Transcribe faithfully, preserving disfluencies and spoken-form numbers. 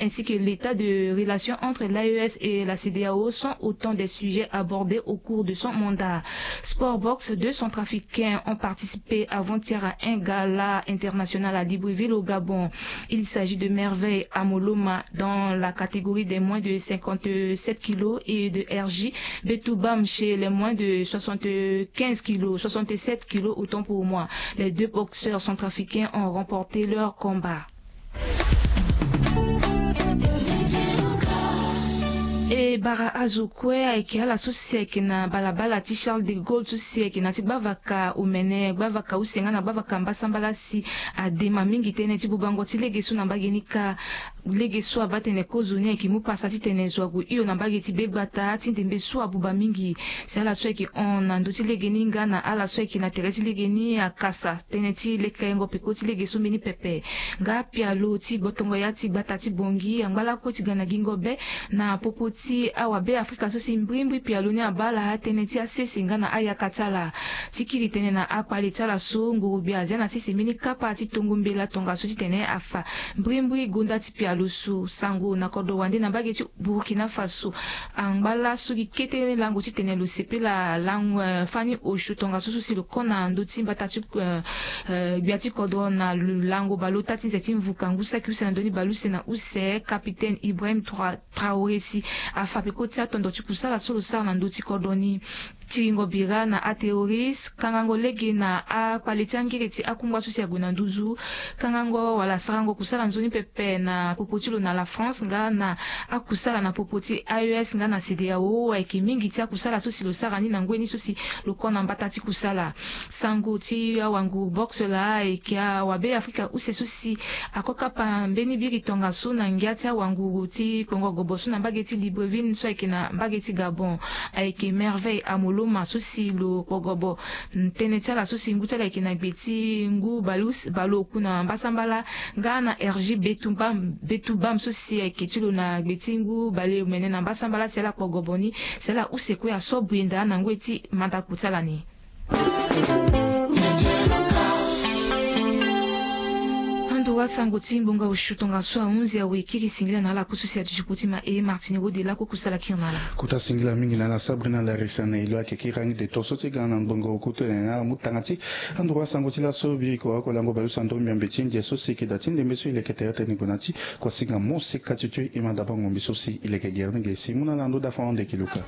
ainsi que l'état de relation entre l'A E S et la CEDEAO sont autant des sujets abordés au cours de son mandat. Sport boxe, deux centrafricains ont participé avant-hier à un gala international à Libreville au Gabon. Il s'agit de Merveille Amoloma dans la catégorie des moins de cinquante-sept kilos et de R J Betoubam chez les moins de soixante-quinze kilos, soixante-sept kilos autant pour moi. Les deux boxeurs centrafricains ont remporté leur combat. E bara azo kue ayeke ala so si ayeke na balabala ti Charles de Gaulle so si ayeke na ti gbavaka omene, gbavaka use nga na gbavaka mbasambala si adema mingi tënë ti bubango ti lege so na mbage ni kâ. Lege so abaa tene kozo ni ayeke mu pasa titene zo ague hio na mbage ti begbata ti ndembe so abuba mingi. Si ala so ayeke hon na ndö ti lege ni nga na ala so ayeke na tere ti lege ni akasa tënë ti lekerengo peko ti lege so mbeni pepe. Nga pialo ti gbotongo ya ti gbata ti Bongi angba lakue ti ga na gingo be na popo ti awabe Afrika so si mbrimbri pialo ni abaa ala tënë ti asese nga na ayaka ti ala. Ti kiri tënë na akpale ti ala so nguru-gbia azia na sese mbeni kapa ti tongo mbela tongaso titene afa mbrimbri gonda ti pialo so. Sango na kodro wande na mbage ti Burkina Faso angba laso gi kete lango titene lo sepela lango, eh, fani osio tongaso so si lo kö na ndö ti mbata ti, eh, eh, gbia ti kodro na lango baleota ti nze ti mvuka ngu saki use na ndö ni baleuse na use, capitaine Ibrahim Tra-, Traoré si afa peko ti atondo ti kusala so lo sara na ndö ti kodro ni. Tiringo bira na aterroriste, kangango lege na akpale ti angere ti akungba so si ague na nduzu, kangango wala sarango kusala nzoni pepe na popo ti lo na la France nga na akusala na popo ti A E S nga na CEDEAO ayeke mingi ti akusala so si lo sara ni na ngoi ni so si lo kö na mbata ti kusala. Sango ti awanguru boxe laa ayeke awabe Afrika use so si ako kapa mbeni biri tongaso na ngia ti awanguru ti kpongo gobo so na mbage ti Libreville so ayeke na mbage ti Gabon. Ayeke Merveille Amoloma so si lo kpo gobo. Tënë ti ala so si ngu ti ala ayeke na gbe ti ngu bale use, bale oku na mbasambala nga na R J Betoubam, Betoubam so si ayeke ti lo na gbe ti ngu bale omene na mbasambala si ala kpo gobo ni, si ala use kue aso bwenda na ngoi ti mandako ti ala ni. Anduru asango ti ngbonga osio tongaso ahunzi awe kiri singila na ala kusu si aduti kpo ti ma e Martini Rode lakue kusala kiri na ala. Kota singila mingi na ala Sabrina Larissa na elo ayeke kiri angi de to so ti ga na ngbonga oku tene na ala mu tanga ti anduru asango ti laso biri kua oko lango baleuse na ndö mbiambe ti ndia so si e yeke da ti ndembe so e leke tere tënë gue na ti kuasinga mo sika ti tio e ma dabango mbi so si e leke gere ni ge si mu na ala ndo dafa hon de ki luka.